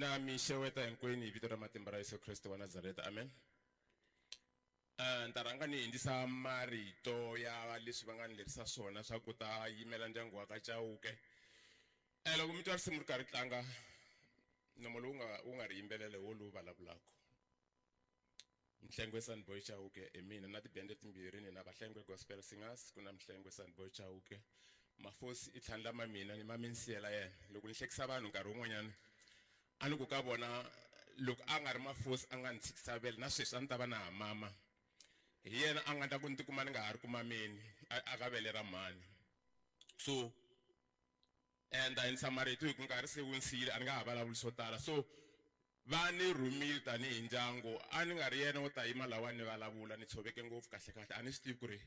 Na mi xeweta hinkwenu hi vito ra matimba ra Yesu Kreste wa Nazareta. Amen. Ni ta rhanga ni hindzisa marito ya leswi va nga ni lerisa swona swa ku ta yimela ndyangu wa ka Chauke. Loko mi twa risimu ri karhi tlanga nomo lowu nga wu nga ri yimbelela hi wo lowu vulavulaka. Mhlengwe Sunboy Chauke hi mina na tibende timbirhi ni na Vahlengwe Gospel Singers ku na Mhlengwe Sunboy Chauke. Mafosi i tlhandlama mina ni mame ni siyela yena. Loko ni hlekisa vanhu nkarhi wun'wanyana a ni ku ka vona loko a nga ri Mafosi a nga ni tshikisa vele na sweswi a ni ta va na ha mama. Hi yena a nga ta ku ni tikuma ni nga ha ri ku mameni a ka vele ra mhani. So ni ta yinisa marito hi ku nkarhi se wu ni siyile a ni nga ha vulavuli swo tala. So va ni rhumile tanihi ndyangu a ni nga ri yena wo ta yima lawa ni vulavula ni tshoveke ngopfu kahle kahle a ni swi tivi ku ri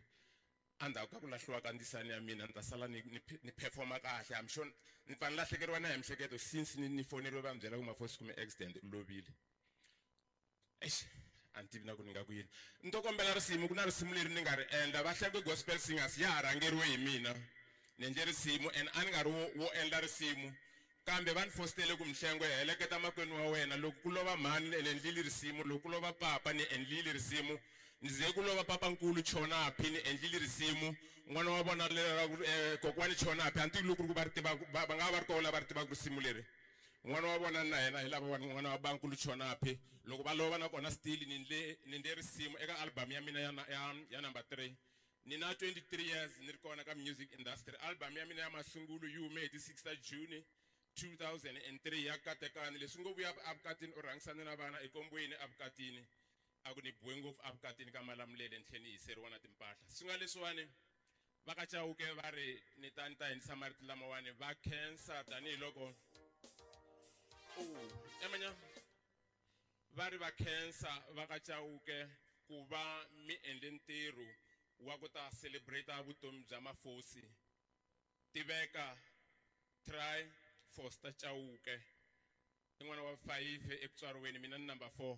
endzhaku ka ku lahliwa ka ndzisani ya mina ni ta sala ni ni ni performa kahle. I'm sure ni pfa ni lahlekeriwa na hi miehleketo since ni foneriwe va ni byela ku Mafosi kume accident u lovile. Eish, a ni tivi na ku ni nga ku yini. Ni to kombela risimu ku na risimu leri ni nga ri endla Vahlengwe Gospel Singers ya ha rhangeriwe hi mina. Ni endle risimu and a ni nga ri wo endla risimu kambe va ni fositele ku Mhlengwe heleketa makwenu wa wena loko ku lova mhani ni endlile risimu loko ku lova papa ni endlile risimu ni ze ku lova papankulu Chonaphi ni endlile risimu n'wana wa vona leri ra ku kokwani Chonaphi a ni tivi loko ku ri ku va ri tiva va nga va ri kona lava ri tivaka risimu leri. N'wana wa vona na yena hi lava n'wana wa bankulu Chonaphi loko va lova na kona still ni ndle ni ndle risimu eka album ya mina ya ya ya number 3. Ni na 23 years ni ri kona ka music industry. Album ya mina ya masungulo yi hume hi ti 6 ta June 2003 ya Katekani. Leswi ngo vuya evukatini u rhangisane na vana ekombweni evukatini a ku ni biwe ngopfu evukatini ka Malamulele ni tlhela ni hiseriwa na timpahla. Swi nga leswiwani va ka Chauke va ri ni ta ni ta hindzisa marito lamawani va khensa tanihiloko emanya va ri va khensa va ka Chauke ku va mi endle ntirho wa ku ta celebrate vutomi bya Mafosi. Tiveka Try Foster Chauke i n'wana wa 5 eku tswariweni mina ni number 4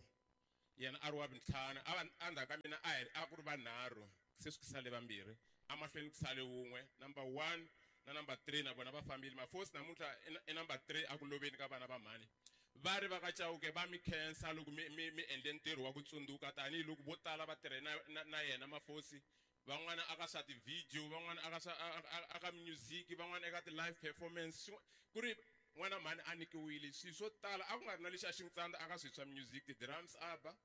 yena a ri wa vuntlhanu a va endzhaku ka mina a hi a ku ri vanharhu se swi ku sale vambirhi emahlweni ku sale wun'we number 1 na number 3 na vona va fambile. Mafosi namuntlha i number 3 a ku loveni ka vana va mhani. Va ri va ka Chauke va mi khensa loko mi mi mi endle ntirho wa ku tsundzuka tanihiloko vo tala va tirhe na na na yena Mafosi van'wana aka swa ti-video van'wana aka swa aka music van'wana eka ti-live performance ku ri n'wana mhani a nyikiwile swilo swo tala a ku nga ri na lexi a xi n'wi tsandza aka swilo swa music ti-drums a ba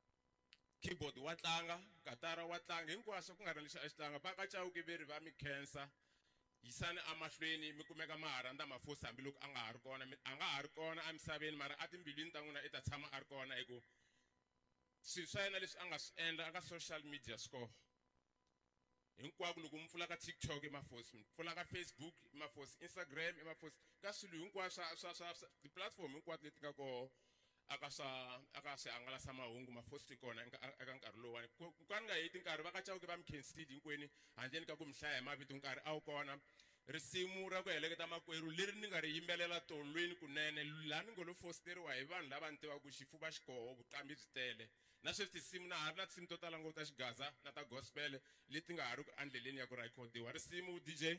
keyboard wa tlanga katara wa tlanga hinkwaswo ku nga ri na lexi a xi tlanga. Va ka Chauke ve ri va mi khensa yisani emahlweni mi kumeka ma ha rhandza Mafosi hambiloko a nga ha ri kona a nga ha ri kona emisaveni mara etimbilwini ta n'wina i ta tshama a ri kona hi ku swilo swa yena leswi a nga swi endla aka social media swi kona hinkwako. Loko mi pfula ka TikTok i Mafosi, mi pfula ka Facebook i Mafosi, Instagram i Mafosi, ka swilo hinkwaswo swa swa swa ti-platform hinkwato leti nga koho aka swa aka swihangalasamahungu Mafosi ti kona eka nkarhi lowuwani. Ku ka ni nga heti nkarhi va ka Chauke va mi khensile hinkwenu handleni ka ku mi hlaya hi mavito nkarhi a wu kona. Risimu ra ku heleketa makwerhu leri ni nga ri yimbelela tolweni kunene laha ni ngo lo fositeriwa hi vanhu lava ni tivaka ku xifuva xi koho vuqambi byi tele na sweswi tinsimu na ha ri na tinsimu to tala ngopfu ta xigaza na ta gospel leti nga ha ri ku endleleni ya ku rhekhodiwa. Risimu DJ.